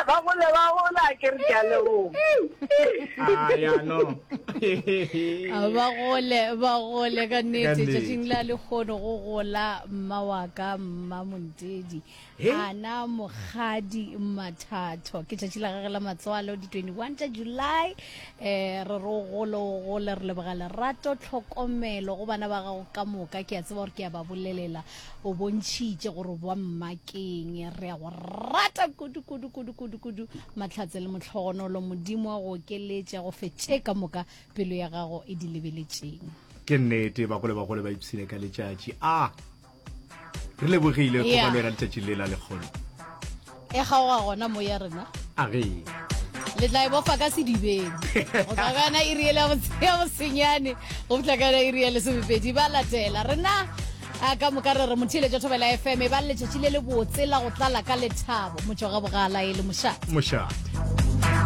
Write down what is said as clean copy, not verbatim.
Ba gole ba gola ke re ke a leboga. Ah, ya no. A ba gole ba gole ka Ka nnete nnete. tšatšing la lekgono go gola mma wa ka mma Montedi He? ana mokgadi Mathatho ke tšatši la gage la matswalo di 21 tša July eh re re o gole o gole re leboga lerato tlhokomelo go bana ba gago ka moka ke a tseba gore ke a ba bolelela O bontšhitše gore wa mma keng. Re a go rata kudu, kudu, kudu, kudu, kudu. Mahlatse le mohlogonolo, Modimo a go okeletše, a go fe tše ka moka pelo ya gago e di lebeletšeng. Ke nnete, bagolo bagolo ba ipshine ka letšatši. A re lebogile go ba le wena letšatšing le la lekgono. E kgaoga gona mo ya rena. A ge. Le tla e bofa ka sedibeng. Go tloga ka yona iri yela ya bosenyane go fihla ka yona iri ya lesomepedi. Ba latela rena a ka moka re re motheeletša Thobela FM e ba letšatši le lebotse la go tlala ka lethabo. Motšo ga bogala e le mošate. Mošate.